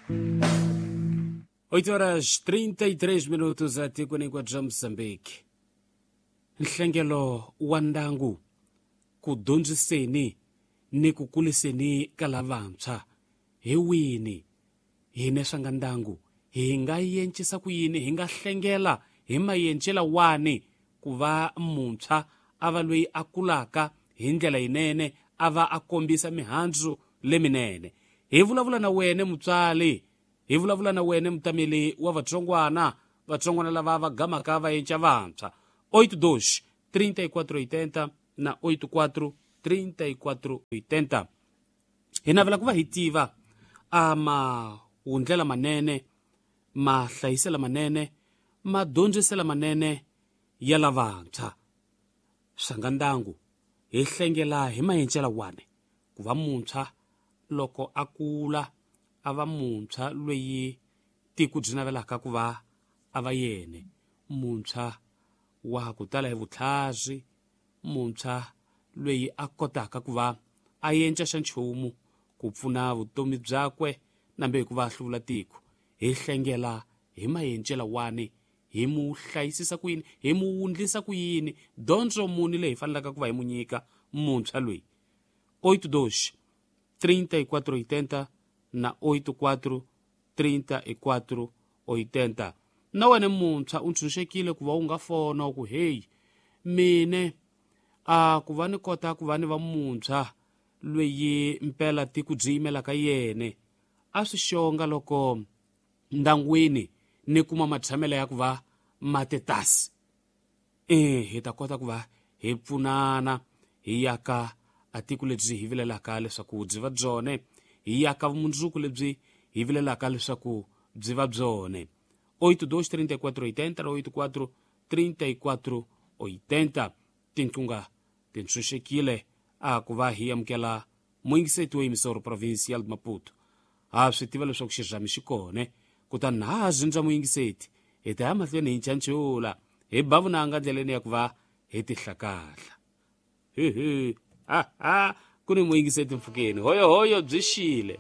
8 horas 33 minutos etikweni hinkwaro bya Mozambique. Nhlengelo wa ndyangu ku dyondziseni ni ku kuliseni ka lavantshwa hi wini hine swa nga ndyangu hi nga yencisa ku yini hi nga hlengela hi mayencela wani ku va muntshwa a va loyi a kulaka hi ndlela yinene a va a kombisa mihandzu leminene. Hi vulavula na wene mutswari, hi vulavula na wene mutameli wa vatsongwana, vatsongwana lava va gamaka va yenca vantshwa. 82 3480 na 84 3480. Hi navela ku va hi tiva a mahundlela manene, mahlayisela manene, madyondzisela manene ya lavantshwa. Swanga ndyangu hi hlengela hi mayencela wani ku va muntshwa loko a kula a va muntshwa loyi tiko byi navelaka ku va a va yene, muntshwa wa ku tala hi vutlhari, muntshwa loyi a kotaka ku va a yenca xa nchumu ku pfuna vutomi byakwe nambe hi ku va a hluvula tiko. Hi hlengela hi mayencela wani, hi mu hlayisisa ku yini, hi mu wundlisa ku yini, dyondzo muni leyi hi fanelaka ku va hi mu nyika muntshwa loyi. 82 3480 na 84 34 80. Na wena muntshwa u ntshunxekile ku va u nga fona u ku heyi mine a ku va ni kota ku va ni va muntshwa loyi mpela tiko byi yimelaka yene a swi xonga loko ndyangwini ni kuma matshamelo ya ku va matetasi. Hi ta kota ku va hi pfunana hi yaka a tiko lebyi hi vilelaka leswaku byi va byone, hi yaka vumundzuku lebyi hi vilelaka leswaku byi va byone. 82 34 80 na 84 34 80. Tinqunga ti ntshunxekile a ku va hi amukela muyingiseti wa Emissora Provincial de Maputo. Ha swi tiva leswaku xirhami xi kone, kutani na ha zindza muyingiseti hi ta ya mahlweni hi nchancula hi ba vunanga ndleleni ya ku va hi tihlakahla. Hihi ha ha ku ni muyingiseti mpfhukeni hoyohoyo byi xile.